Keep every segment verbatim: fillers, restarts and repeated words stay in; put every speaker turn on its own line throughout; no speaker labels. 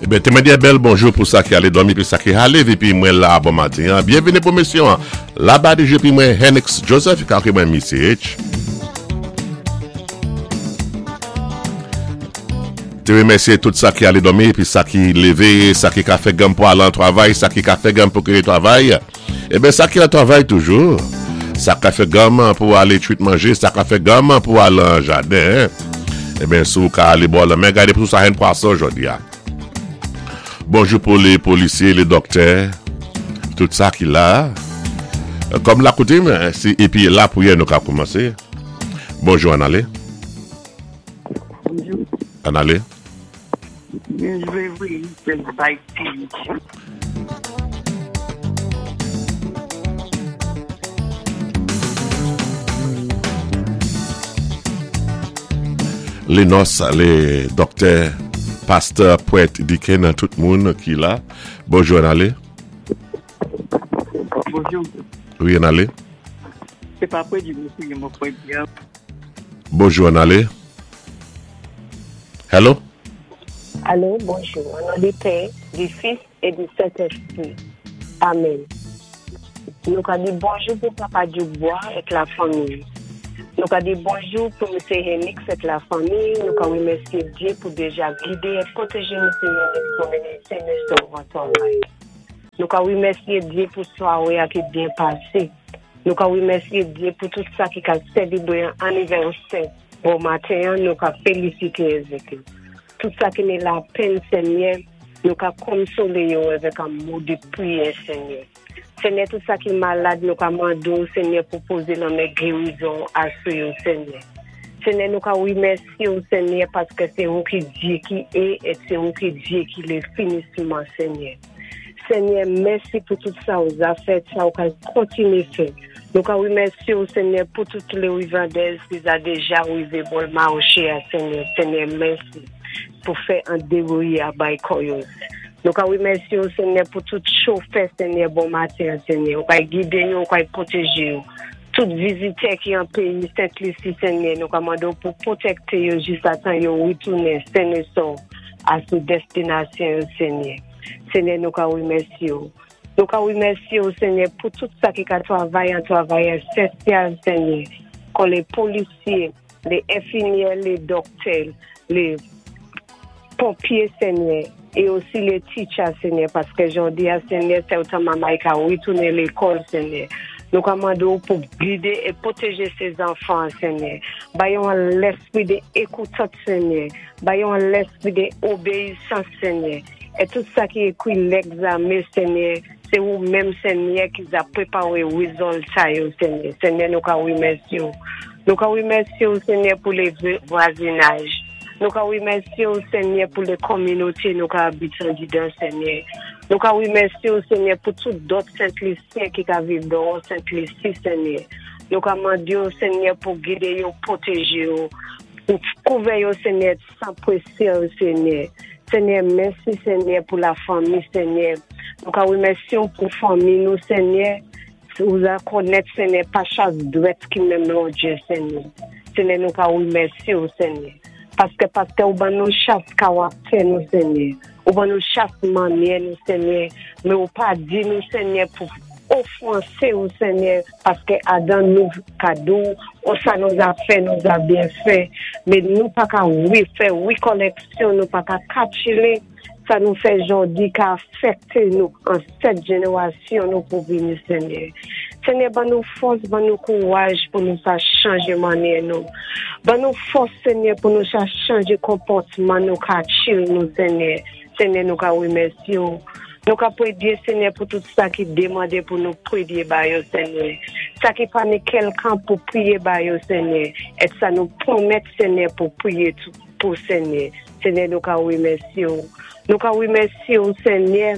Ebyen, té mwen di bèl bonjou pou sa ki alé dòmi pi sa ki ale épi mwen la bon maten. Byenvini pou émisyon. Laba di pi mwen Henix Joseph, ka mwen Missy H. Té remèsyé tout sa ki alé dòmi épi sa ki lévé, sa ki ka fè ganm pou alé an travay, sa ki ka fè ganm pou kité travay. Ebyen sa ki an travay toujou. Sa ka fè ganm pou alé twit manjé, sa ka fè ganm pou alé an jaden. Ebyen sou ka alé bò lanmè, gadé pou sa yon pwason jòdi a. Bonjou pou lé polisyé, lé dòktè, tout sa ki la. Kòm la koutim, sé épi lapwiyè nou ka kòmansé. Bonjou ann alé.
Bonjou.
Ann alé.
Byenjwe wi, sé bay
Lé nòs, lé dòktè, pastè, prèt, dyaken, tout moun ki la. Bonjou ann alé.
Bonjou.
Wi, ann alé.
Sé pa pwédi, mesye, mwen pwédi.
Bonjou ann alé. Hello?
Allô, bonjou. Au nom du Père, du Fils et du Saint-Esprit. Amen. Nou ka di bonjou pou Papa Dubois ak la fanmi. Nou ka di bonjou pou Mesye Henix ak la fanmi. Nou ka remèsyé Dye pou déja gidé é pwotèjé Mesye Henix pou mennen sen é sov an travay. Nou ka remèsyé Dye pou swaré a ki byen pasé. Nou ka remèsyé Dye pou tout sa ki ka sélébwé an anivèsè. Bon maten, nou ka félisité avèk yo. Tout sa ki ni lapenn, Senyè, nou ka konsolé yo avèk an mo de pwiyè, Senyè. Senyè, tout sa ki malad, nou ka mandé ou, Senyè, pou pozé lanmen gerizon asou yo, Senyè. Senyè, nou ka remèsyé ou, Senyè, paské sé ou ki Dye ki é, é sé ou ki Dye ki lé finisman, Senyè. Senyè, mèsi pou tout sa ou za fèt, sa ou ka kontiné fè. Nou ka remèsyé ou, Senyè, pou tout lé rivandèz ki za déja rivé bò maché a, Senyè. Senyè, mèsi pou fè an débwouye a bay kò yo. Nou ka remèsyé ou, Senyè, pou tout chofè, Senyè, bon maten, Senyè. Ou ka gidé yo, ou ka pwotèjé yo. Tout vizitè ki an péyi Sent-Lisi, Senyè, nou ka mandé ou pou pwotèkté yo jis a tan yo witounen sen é sov a sou destinasyon yo, Senyè. Senyè, nou ka remèsyé ou. Nou ka remèsyé ou, Senyè, pou tout sa ki ka travay an travay esansyèl, Senyè. Kon lé polisyé, lé enfimyè, lé dòktè, lé ponpyé, Senyè, é osi lé teacher, Senyè, paské jòdi a, Senyè, sé otan manmay ka witounen lékòl, Senyè. Nou ka mandé ou pou gidé é pwotèjé sé zanfan, Senyè. Bay yo an léspwi dé ékoutant, Senyè. Bay yo an léspwi dé obéyisans, Senyè. É tout sa ki ékwi légzamen, Senyè, sé ou menm, Senyè, ki za pwéparé wézilta yo, Senyè. Senyè, nou ka wémèsyé ou. Nou ka wémèsyé ou, Senyè, pou lé vwazinaj. Nou ka wémèsyé ou, Senyè, pou lé kominoté nou ka abitan didan, Senyè. Nou ka wémèsyé ou, Senyè, pou tout dòt Sent-Lisyen ki ka viv dòwò Sent-Lisi, Senyè. Nou ka mandé ou, Senyè, pou gidé yo, pwotèjé yo, pou kouvè yo, Senyè, san pwésye, Senyè. Senyè, mèsi, Senyè, pou la fanmi, Senyè. Nou ka wémèsyé ou pou fanmi nou, Senyè. Ou za konnèt, Senyè, pa chak dwèt ki menm longè, Senyè. Senyè, nou ka wémèsyé ou, Senyè. Paské paské ou ban nou chak karaktè nou, Senyè. Ou ban nou chak mannyè nou, Senyè. Men ou pa di nou, Senyè, pou ofansé ou, Senyè, paské adan nou kado, ou sa nou za fè, nou za byen fè. Men nou pa ka wi fè wékòlèksyon, nou pa ka katchilé, sa nou fè jòdi ka afèkté nou an sèt jénéwasyon nou pou vini, Senyè. Senyè, ban nou fòs, ban nou kouwaj pou nou sa chanjé mannyè nou. Ban nou fòs, Senyè, pou nou sa chanjé konpòtman nou katchil nou, Senyè. Senyè, nou ka wémèsyé ou. Nou ka pwédyé, Senyè, pou tout sa ki démandé pou nou pwédyé ba yo, Senyè. Sa ki pa ni kèlkan pou pwiyé ba yo, Senyè. É sa nou pwomèt, Senyè, pou pwiyé tou pou Senyè. Senyè, nou ka wémèsyé ou. Nou ka wémèsyé ou, Senyè,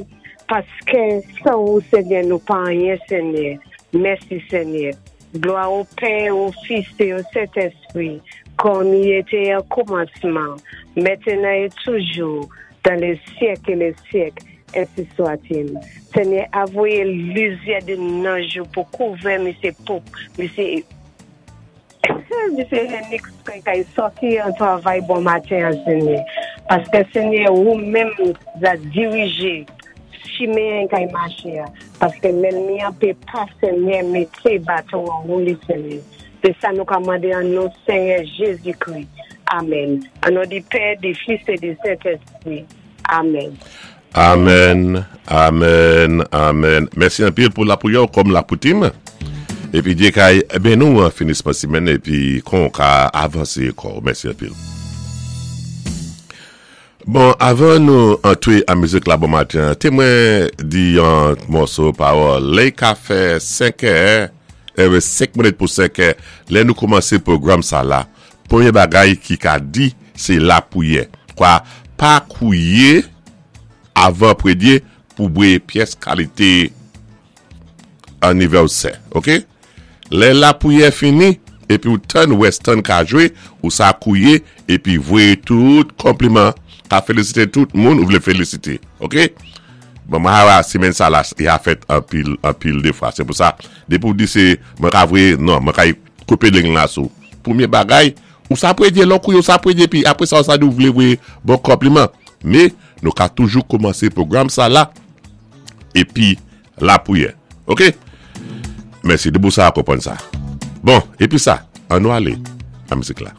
paské san ou, Senyè, nou pa anyen, Senyè. Mèsi, Senyè. Glwa au Père, au Fils et au Saint-Esprit, comme il était au commencement, maintenant et toujours, dans les siècles et les siècles, ainsi soit-il. Senyè, avoyé lizyè dé nanj pou kouvè Mesye Pope, Mesye Mesye Henix kay sòti an travay bon maten, Senyè. Paské Ségnè ou menm za dirijé chimen kay maché a. Paské lènmi an pé pa Ségnè mété baton an wou li Ségnè. Sé sa nou ka mandé an non Ségnè Jézi-Kri. Amen. An non di Pè, di Fis é di Sentespri. Amen.
Amen, amen, amen. Mèsi anpil pou lapriyè kòm lakoutim. Épi Djé kay béni nou an finisman simèn épi kon ka avansé ankò. Mèsi anpil. Bon, avan nou antwé an mizik la bon maten, té mwen di yon mòso pawòl. Lè ka fè senk è, eh, senk minit pou senk è, lè nou kòmansé pwogram sa la. Pwémyé bagay ki ka di, sé lapriyè. Kwa, pa kouwiyé avan pwédyé pou bwé pyès kalité anivèsè, ok? Lè lapriyè fini, épi ou tann Weston ka jwé, ou sa kouwiyé, épi voyé tout konpliman, ka félisité tout moun ou vlé félisité, ok? Bon, mwen ha simèn sa la, i a fèt anpil, anpil dé fwa. Sé pou sa, dépi ou di sé, mwen ka voyé, non, mwen ka koupé ling la sou. Pwémyé bagay, ou sa pwédyé, lò kouwiyé ou sa pwédyé, pi apwé sa ou sa di ou vlé voyé bon konpliman. Mé, nou ka toujou kòmansé pwogram sa la, épi lapriyè, ok? Mèsi, dépi ou sa konpwann sa. Bon, épi sa, an nou alé, nan mizik la.